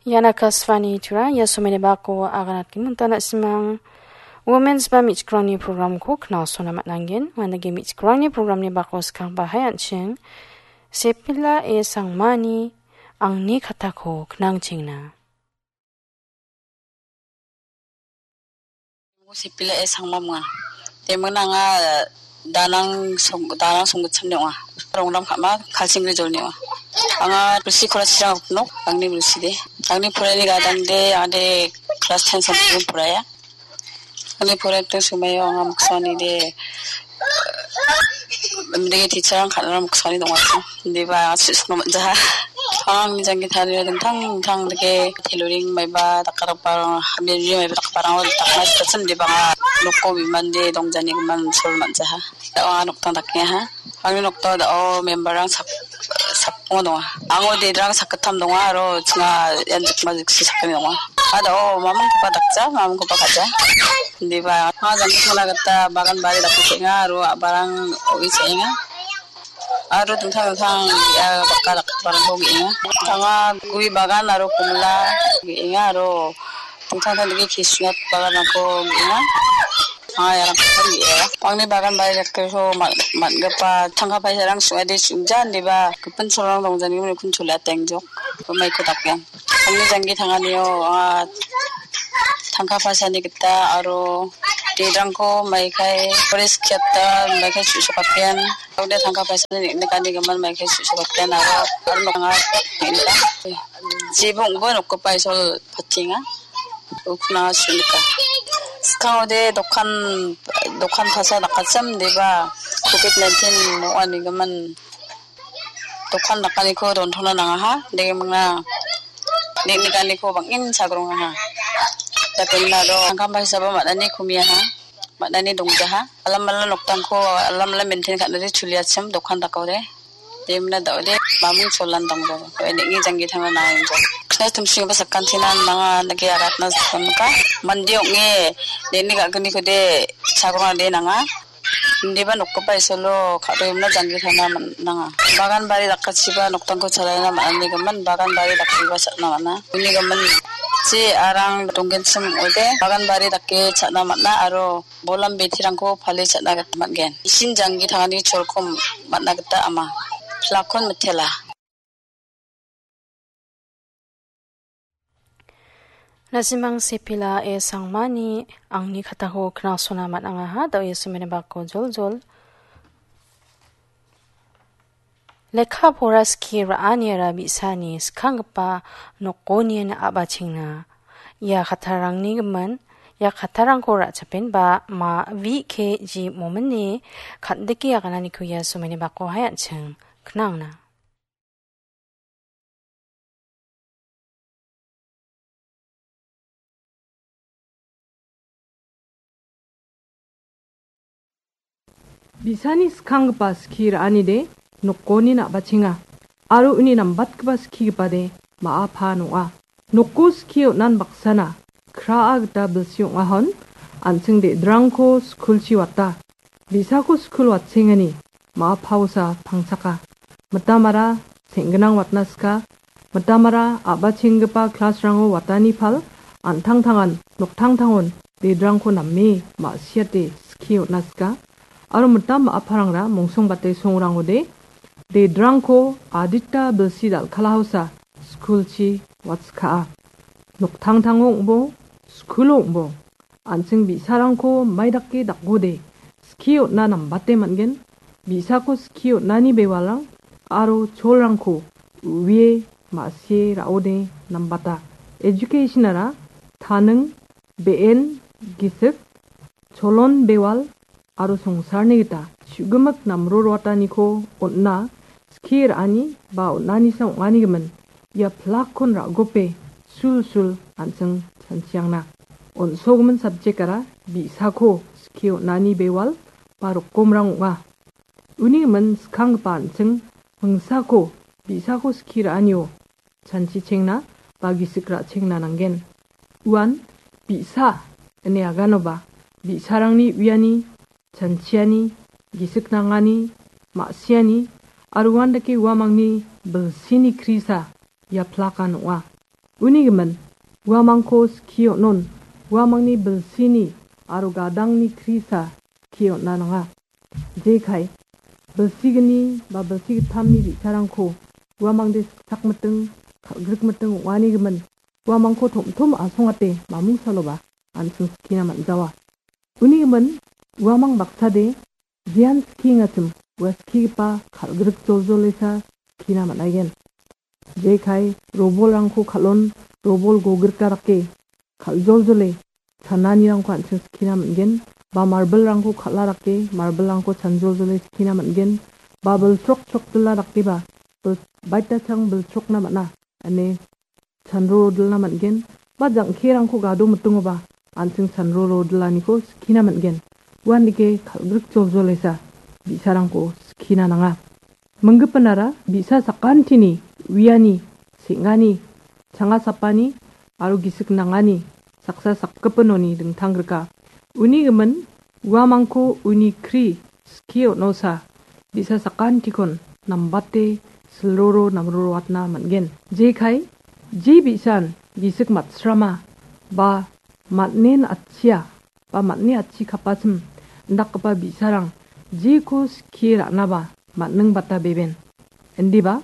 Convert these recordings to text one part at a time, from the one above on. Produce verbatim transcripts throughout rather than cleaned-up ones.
Ian Akashvani Tura, ia somaini bako aganatgimin tana simang. Women's ba me·chikrangni programko knalsona man·angen. Uandake me·chikrangni programni bako skangba hai an·ching. Sepila e Sangmani angni katako knangchengna. Sepila e Sangma munga. Temuna anga Danang song, Danang songgitsamni ong·a. Rongram ka·ma Kalsingri jolni ong·a. Anga bilsi kora chirang nok, angni bilsi de. Angni porani gadang de, anga de class ten sampai poraya. Angni poraitu sumayo anga moksaoni de, mendege teacher-rang kal·na moksaoni dongachim. Indiba anga su·sukna man·jaha. Angni janggi tarie dingtang dingtang dake tailoring maiba dakgiparang, hamiri maiba dakgiparang dakna sikachim, indiba anga noko bimande dongjanigimin sol man·jaha. Da·o anga nokdang dakengaha. Angni nokdao da·o member-rang sak-, sakbonga donga. Ango dedrang sakgittam donga aro chinga ian jikma jiksi sakgni donga. A da·o mamingkoba dakja, mamingkoba ka·ja. Indiba anga janggi tangna gita bagan bari dake ka·enga aro a·barang o·e cha·enga. Aro dingtang dingtang ia baka dakgiparangko ge·enga. Anga gue bagan aro komila ge·enga aro dingtang dingtang dake kisnat baganrangko ge·enga. Anga iarangko ge·enga. Angni bagan bari dakgiparangko man-, man·gipa tangka paisarang sing·ade sing·ja indiba gipin cholrang dongjanigimin kun chole atengjok. Umaiko dakgen. Angni janggi tanganio anga tangka paisani gita aro dedrangko maikai forest gate-o maikai chu·sokatgen. Ode tangka paisani neng·nikanigimin maikai chu·sokatgen aro, aro noknga neng·nika. Jebo ong·bo nokgipa isol patenga. Ukna su·nika. Skangode dokan, dokan pasa dakachim deba covid nineteen ong·anigimin dokan dakaniko dontona nangaha. Degimingna neng·nikaniko bang·en chagrongaha. Dakemingna aro tangkamba hisaba man·ani kumiaha. Man·ani dongjaha. Alamala noktangko alamala maintain ka·nade chuliachim dokan dakode. Demna da·ode mamung cholan dongjaha. Neng·ni janggi tangna nangenjo. Kna tumsingba sakantina nanga nage agatna sakanka. Mande ong·e neng·ni ga·ginikode chagrongade nanga. Indiba nokgipa isolo ka·doimna janggi tangna man-, nanga. Bagan bari dakachiba noktangko chalaina man·anigimin bagan bari dakgipa cha·na man·a. Unigimin je arang donggenchim ong·ode bagan bari dake cha·na man·a aro bolam bitirangko pale cha·na gita man·gen. Isin janggi tangani cholko man·na gita ama. Plakon mitela. Nasimang Sepila e Sangmani angni katako knalsona man·angaha, da·o Jesu mene bako joljol. Lekka pora skie ra·aniara bi·sani skanggipa nokoni a·bachengna. Ia kattarangni gimin, ia kattarangko ra·chapenba ma vi ke ji momini kan·dike agananiko ia somaini bako hai an·ching knangna. Bi·sani skanggipa skie ra·anide nokoni na·bachenga, aro uni nambatgipa skigipade ma·a paan ong·a. Noko skie on·an baksana kraa gita bilsi ong·ahon, an·ching de·drangko skulchi wata. Bi·sako skul watchengani ma·a paosa pangchaka. Mitamara seng·ginang watna sika. Mitamara a·bachenggipa klasrango watani pal, an·tangtangan noktangtangon de·drangko name ma·siate skie on·a sika. Aro mitam ma·aparangra mongsongbate songrangode de·drangko adita bilsi dal·kalaosa skulchi watskaa. Noktangtango ong·bo, skulo ong·bo, an·ching bi·sarangko maidake dakode skie on·na nambate man·gen. Bi·sako skie on·ani bewalrang aro cholrangko u·ie ma·sie ra·ode nambata. Educationara taning, be·en, gisik, cholon bewal aro songsarni gita chu·gimik namroroataniko on·na skie ra·ani ba on·anisa ong·anigimin ia plakkon ra·gope sulsul an·ching chanchiangna. On·sogimin subject-ara bi·sako skie on·ani bewal ba rokomrang ong·a. Uni gimin skanggipa an·ching hingsako bi·sako skie ra·anio chanchichengna ba gisik ra·chengna nanggen. Uan bi·sa ine aganoba bi·sarangni uiani, chanchiani, gisik nangani, ma·siani, aro uandake uamangni bilsini krisa ia plakan ong·a. Uni gimin, uamangko skie on·on, uamangni bilsini aro gadangni krisa skie on·a nanga. Jekai, bilsigni ba bilsi gittamni bi·sarangko uamangde siksak miting, kal·grik miting ong·ani gimin, uamangko tom·tom asongate mamung saloba an·ching skina man·jawa. Uni gimin, uamang baksade jean skiengachim ua skigipa kal·grik joljolesa skina man·aigen. Jekai robolrangko kal·on, robol gogrika dake kal·joljole chananirangko an·ching skina man·gen, ba marbilrangko kal·a dake marbilrangko chanjoljole skina man·gen, ba bilchrok chrokdila dakeba bil-, baitachang bilchrokna man·a ine chanro rodilna man·gen, ba jang·kerangko gado mitingoba an·ching chanro rodilaniko skina man·gen. Uandake kal·grik joljolesa bi·sarangko skina nanga. Minggipinara bi·sa sakantini uiani, seng·ani, changa sapani aro gisik nangani saksa sakgipinoni dingtang grika. Uni gimin uamangko uni kri skie on·osa bi·sa sakantikon nambate silroro namroroatna man·gen. Jekai, je bi·san gisik matsrama ba man·en atchia ba man·e atchi kapachim indakgipa bi·sarang jeko skie ra·naba man·ning bata beben. Indiba,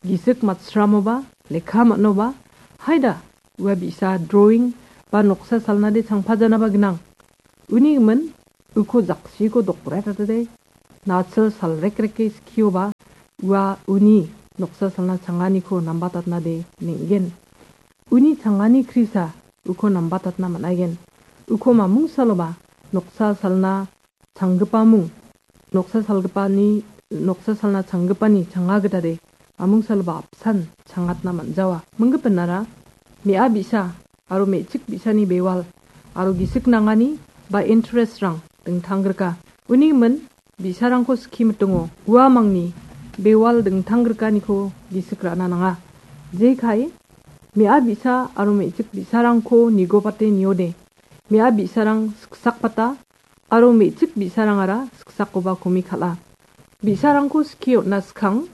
gisik matsramoba, lekka man·oba, haida, ua bi·sa drawing ba noksa salnade changpajanaba gnang. Uni gimin, uko jaksiko dokretatade, nasil salrekreke skioba, ua uni noksa salna changaniko nambatatnade neng·gen. Uni changani krisa uko nambatatna man·aigen. Uko mamung saloba noksa salna changgipamung, noksa salgipani, noksa salna changgipani changa gitade mamung saloba apsan changatna man·jawa. Minggipinara me·a bi·sa aro me·chik bi·sani bewal aro gisik nangani ba interestrang dingtang grika. Uni gimin bi·sarangko skie mitingo uamangni bewal dingtang grikaniko gisik ra·na nanga. Jekai, me·a bi·sa aro me·chik bi·sarangko nigobate niode, me·a bi·sarang siksakbata aro me·chik bi·sarangara siksakoba komi kal·a. Bi·sarangko skie on·na skang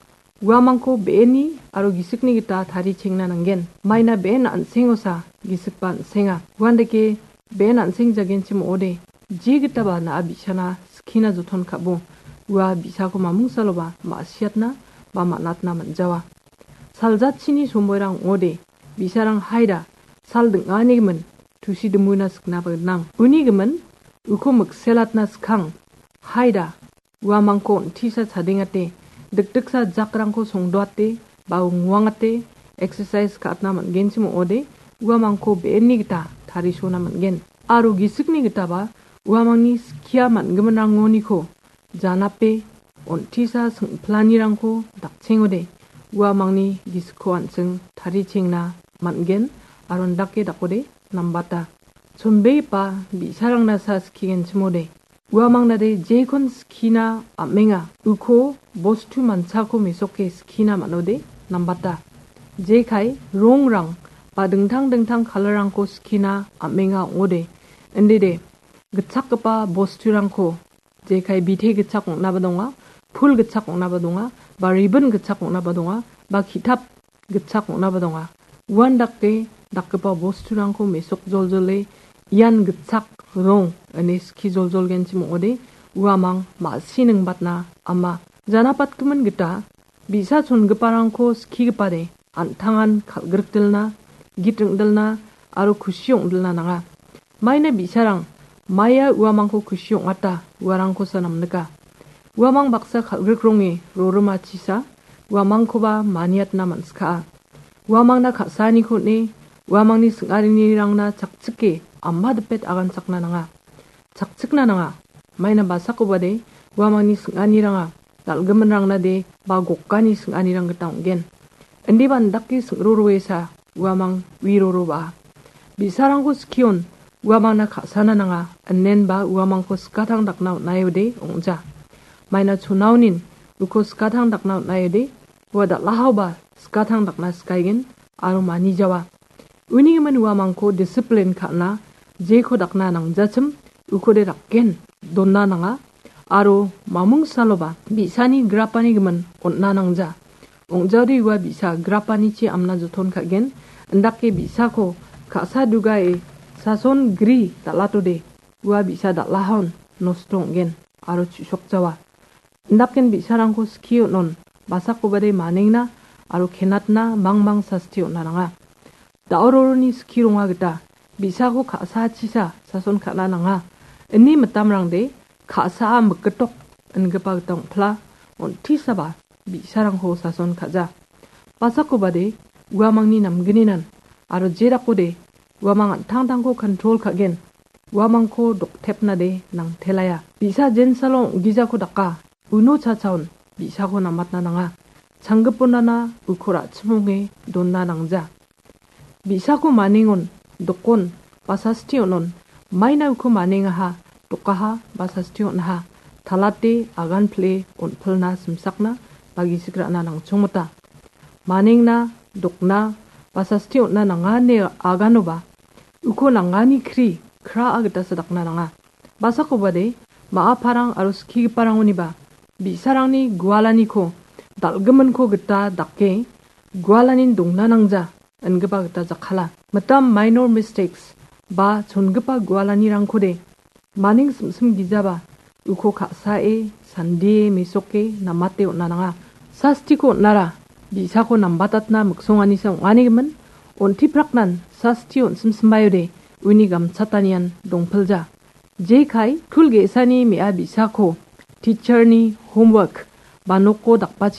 uamangko be·eni aro gisikni gita tarichengna nanggen. Maina be·en an·sengosa gisikba an·senga. Uandake be·en an·sengjagenchim ong·ode, jegitaba na·a bi·sana skina joton ka·bo, ua bi·sako mamung saloba ma·siatna ba man·atna man·jawa. Saljatchini somoirang ong·ode, bi·sarang haida sal ding·ani gimin tusi dimuina siknaba gnang. Uni gimin uko mikselatna skang, haida uamangko on·tisa chadengate, dikdiksa jakrangko songdoate ba nguangate, exercise ka·atna man·genchim ong·ode, uamangko be·enni gita tarisona man·gen. Aro gisikni gitaba uamangni skia man·giminrangoniko janape on·tisa sing·planirangko dakchengode, uamangni gisikko an·ching tarichengna man·gen aro indake dakode nambata. Chonbegipa bi·sarangna sa skigenchimode, uamangnade jekon skina am·enga, uko bostu manchako mesoke skina man·ode nambata. Jekai rongrang ba dingtang dingtang kalarrangko skina am·enga ong·ode, indide gitchakgipa bosturangko, jekai bite gitchak ong·naba donga, pul gitchak ong·naba donga, ba ribin gitchak ong·naba donga, ba ki·tap gitchak ong·naba donga. Uandake dakgipa bosturangko mesok joljole ian gitchak rong ine ski joljolgenchim ong·ode uamang ma·si ningbatna ama. Janapatgimin gita bi·sa chongiparangko skigipade an·tangan kal·grikdilna, git ring·dilna aro kusi ong·dilna nanga. Maina bi·sarang maia uamangko kusi ong·ata uarangkosa namnika. Uamang baksa kal·grik rongni rorimachisa uamangkoba maniatna man·skaa. Uamangna ka·saaniko on·e, uamangni sing·arinirangna chakchike ama dipet aganchakna nanga. Chakchikna nanga. Maina basakobade uamangni sing·aniranga dal·giminrangnade ba gokani sing·anirang gita ong·gen. Indiba indake sing·roroesa uamang uiroroba. Bi·sarangko skion uamangna ka·sana nanga, inenba uamangko skatang dakna on·aeode ong·ja. Maina chonaonin uko skatang dakna on·aeode ua dal·ahaoba skatang dakna skaigen aro manijawa. Uni gimin uamangko disiplin ka·na jeko dakna nangjachim ukode rakgen dona nanga aro mamung saloba bi·sani grapani gimin on·na nangja. Ong·jaode ua bi·sa grapanichi amna joton ka·gen. Indake bi·sako ka·sa dugae sason gri dal·atode, ua bi·sa dal·ahaon nosto ong·gen aro chu·sokjawa. Indaken bi·sarangko skie on·on, basakobade manengna aro kenatna mangmang sasti on·a nanga. Da·o roroni skie ronga gita bi·sako ka·sa chisa sason ka·na nanga. Ini mitamrangde ka·saa mikgitok ingipa gita ong·pila, on·tisaba bi·sarangko sason ka·ja. Basakobade uamangni namgninan aro jedakode uamang an·tangtangko kontrol ka·gen, uamangko doktepnade nangtelaia. Bi·sa jensalo ong·gijako daka, uno chachaon bi·sako namatna nanga. Changgiponana uko ra·chimonge donna nangja. Bi·sako manengon, dokon, ba sasti on·on, maina uko manengaha, dokaha, ba sasti on·aha, talate agan pile on·pilna simsakna ba gisik ra·na nangchongmota. Manengna, dokna, ba sasti on·na nanga ine aganoba, uko nangani kri, kraa gita sadakna nanga. Basakobade, ma·a parang aro skigiparangoniba, bi·sarangni gualaniko, dal·giminko gita dake, gualanin dongna nangja, ingipa gita jakkala. Mitam minor mistakes, ba chongipa gualanirangkode, maning simsim gijaba, uko ka·sae, sandie, mesoke, namate on·a nanga. Sastiko on·ara, bi·sako nambatatna miksonganisa ong·anigimin, on·tipraknan sasti on·simsimbaode, uni gamchatanian dongpilja. Jekai, skul ge·sani me·a bi·sako, teacherni homework, ba noko dakbachi